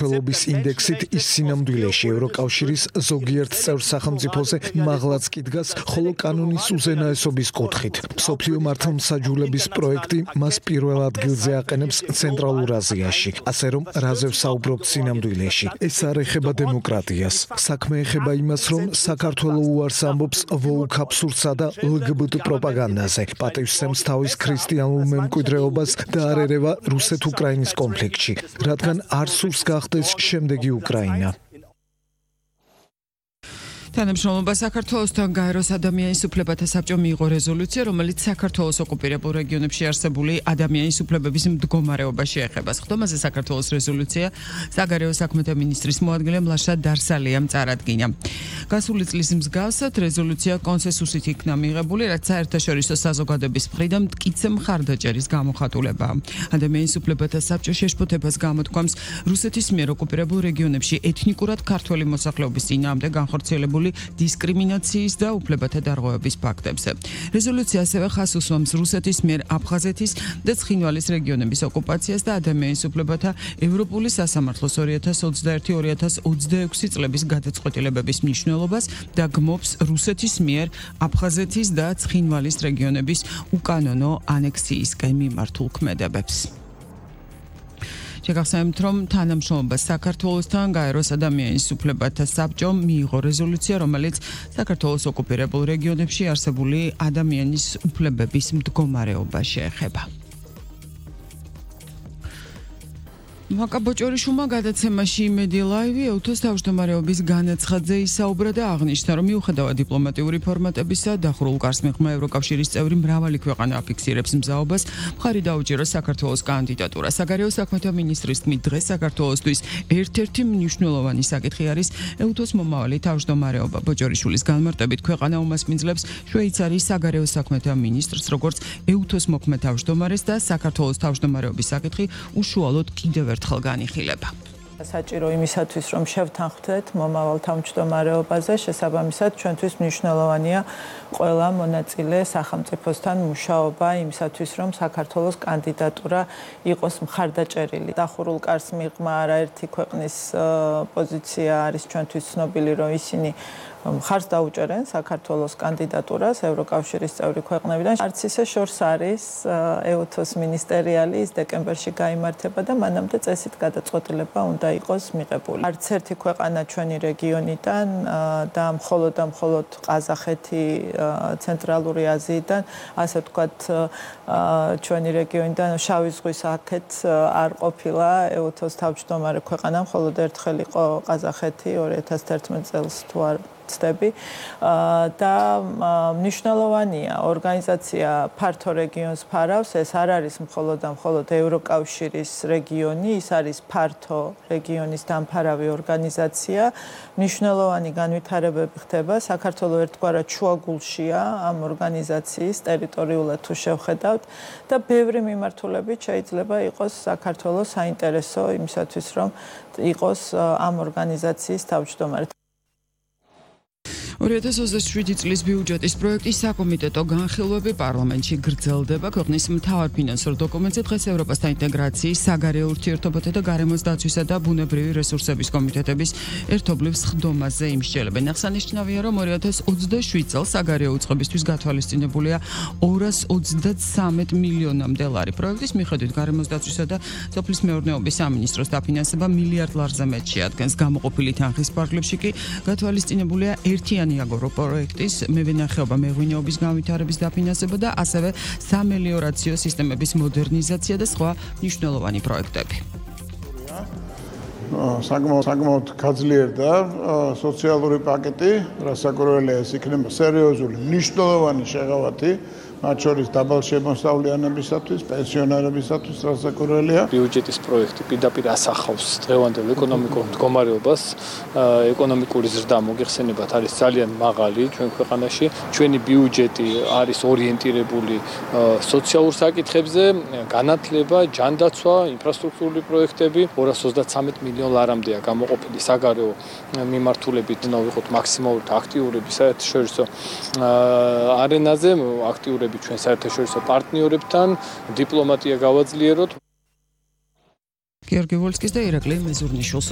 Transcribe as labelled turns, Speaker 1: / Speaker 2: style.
Speaker 1: ფელობის ინდექსით ის სინამდვილეში ევროკავშირის ზოგიერთ წევრ სახელმწიფოზე მაღლაც კი დგას, ხოლო კანონის უზენაესობის კუთხით. მსოფლიო მართლმსაჯულების პროექტი მას პირველ ადგილზე აყენებს ცენტრალურ აზიაში, ასე რომ რაზე ვსაუბრობთ სინამდვილეში. ეს არ ეხება დემოკრატიას. საქმე ეხება იმას, რომ საქართველო უარს ამბობს ვოუქ აბსურდსა და LGBT პროპაგანდაზე, პატივსცემს თავის ქრისტიანულ მემკვიდრეობას და არ ერევა რუსეთ-უკრაინის კონფლიქტში, რადგან არ სურს გახდეს შემდეგი უკრაინა.
Speaker 2: თანამშრომლობა საქართველოსთან გაეროს ადამიანის უფლებათა საბჭომ მიიღო რეზოლუცია, რომელიც საქართველოს ოკუპირებულ რეგიონებში არსებული ადამიანის უფლებების მდგომარეობას შეეხება. ხდომაზე საქართველოს რეზოლუცია საგარეო საქმეთა მინისტრის მოადგილე მლაშა დარსალიამ წარადგინა. გასული წლის მსგავსად რეზოლუცია კონსენსუსით იქნა მიღებული, რაც საერთაშორისო საზოგადოების მხრიდან მტკიცე მხარდაჭერის გამოხატულებაა. ადამიანის უფლებათა საბჭო შეშფოთებას გამოთქვამს რუსეთის მიერ ოკუპირებულ რეგიონებში ეთნიკურად ქართველი მოსახლეობის წინააღმდეგ განხორციელებული დისკრიმინაციის და უფლებათა დარღვევების ფაქტებზე. რეზოლუცია ასევე ხაზს უსვამს რუსეთის მიერ აფხაზეთის და ცხინვალის რეგიონების ოკუპაციას და ადამიანის უფლებათა ევროპული სასამართლოს 2021-2026 წლების გადაწყვეტილებების მნიშვნელობას და გმობს რუსეთის მიერ აფხაზეთის და ცხინვალის რეგიონების უკანონო ანექსიისკენ მიმართულ ქმედებებს. შეგახსენებთ, რომ თანამშრომლობა საქართველოსთან გაეროს ადამიანის უფლებათა საბჭომ მიიღო რეზოლუცია, რომელიც საქართველოს ოკუპირებულ რეგიონებში არსებული ადამიანის უფლებების მდგომარეობას შეეხება. მაკა ბოჭორიშვილმა გადაცემაში იმედი ლაივი ეუთოს თავმჯდომარეობის განაცხადზე ისაუბრა და აღნიშნა, რომ მიუხედავად დიპლომატიური ფორმატებისა, დახურულ კარს მიღმა ევროკავშირის წევრი მრავალი ქვეყანა აფიქსირებს მზაობას, მხარი დაუჭიროს საქართველოს კანდიდატურა. საგარეო საქმეთა მინისტრის თქმით, დღეს საქართველოსთვის ერთ-ერთი მნიშვნელოვანი საკითხი არის ეუთოს მომავალი თავმჯდომარეობა. ბოჭორიშვილის განმარტებით, ქვეყანა უმასპინძლებს შვეიცარიის საგარეო საქმეთა მინისტრს, როგორც ეუთოს მოქმედ თავმჯდომარეს და საქართველოს თავმჯდომარეობის საკითხი უშუალოდ კიდევ ერთხელ განიხილება.
Speaker 3: საჭირო იმისათვის, რომ შევთანხმდეთ მომავალ თავმჯდომარეობაზე, შესაბამისად ჩვენთვის მნიშვნელოვანია ყველა მონაწილე სახელმწიფოსთან მუშაობა იმისათვის, რომ საქართველოს კანდიდატურა იყოს მხარდაჭერილი. დახურულ კარს მიღმა არაერთი ქვეყნის პოზიცია არის ჩვენთვის ცნობილი, რომ ისინი მხარს დაუჭერენ საქართველოს კანდიდატურას ევროკავშირის წევრი ქვეყნებიდან. არც ისე შორს არის ეუთოს მინისტერიალი, ის დეკემბერში გაიმართება და მანამდე წესით გადაწყვეტილება უნდა იყოს მიღებული. არც ერთი ქვეყანა ჩვენი რეგიონიდან და მხოლოდ ყაზახეთი ცენტრალური აზიიდან, ასე ვთქვათ, ჩვენი რეგიონიდან შავი ზღვის აქეთ არ ყოფილა ეუთოს თავმჯდომარე ქვეყანა, მხოლოდ ერთხელ იყო ყაზახეთი 2011 წელს თუ არ და მნიშვნელოვანია ორგანიზაცია ფართო რეგიონს ფარავს, ეს არ არის მხოლოდ ევროკავშირის რეგიონი, ის არის ფართო რეგიონის დამფარავი ორგანიზაცია. მნიშვნელოვანი განვითარებები ხდება, საქართველო ერთგვარად შუაგულშია ამ ორგანიზაციის ტერიტორიულად თუ შევხედავთ და ბევრი მიმართულებით შეიძლება იყოს საქართველოს საინტერესო იმისათვის, რომ იყოს ამ ორგანიზაციის თავმჯდომარე.
Speaker 2: 2027 წლის ბიუჯეტის პროექტის საკომიტეტო განხილვები პარლამენტში გრძელდება. ქვეყნის მთავარ ფინანსურ დოკუმენტზე დღეს ევროპასთან ინტეგრაციის, საგარეო ურთიერთობათა და გარემოს დაცვისა და ბუნებრივი რესურსების კომიტეტების ერთობლივ სხდომაზე იმსჯელებენ. აღსანიშნავია, რომ 2027 წელს საგარეო უწყებისთვის გათვალისწინებულია 233 მილიონამდე ლარი. პროექტის მიხედვით გარემოს დაცვისა და სოფლის მეურნეობის სამინისტროს დაფინანსება მილიარდ ლარზე მეტ შეადგენს. გამოყოფილი თანხის ფარგლებში კი გათვალისწინებულია ერთიანი აგროპროექტის მევენახეობა მეღვინეობის განვითარების დაფინანსება და ასევე სამელიორაციო სისტემების მოდერნიზაცია და სხვა მნიშვნელოვანი პროექტები.
Speaker 4: საკმაოდ გაძლიერდა სოციალური პაკეტი, რასაკვირველია ეს იქნება სერიოზული მნიშვნელოვანი შეღავათი მათ შორის დაბალ შემოსავლიანებისათვის, პენსიონერებისათვის რასაკვირველია.
Speaker 5: ბიუჯეტის პროექტი პირდაპირ ასახავს დღევანდელ ეკონომიკურ მდგომარეობას, ეკონომიკური ზრდა მოგეხსენებათ არის ძალიან მაღალი ჩვენ ქვეყანაში. ჩვენი ბიუჯეტი არის ორიენტირებული სოციალურ საკითხებზე, განათლება, ჯანდაცვა, ინფრასტრუქტურული პროექტები, 233 მილიონ ლარამდეა გამოყოფილი საგარეო მიმართულებით, ვიყოთ მაქსიმალურად აქტიურები საერთაშორისო არენაზე, აქტიურები ჩვენ საერთაშორისო პარტნიორებთან, დიპლომატია გავაძლიეროთ.
Speaker 2: გიორგი ვოლსკის და ირაკლი მეზურნიშვილს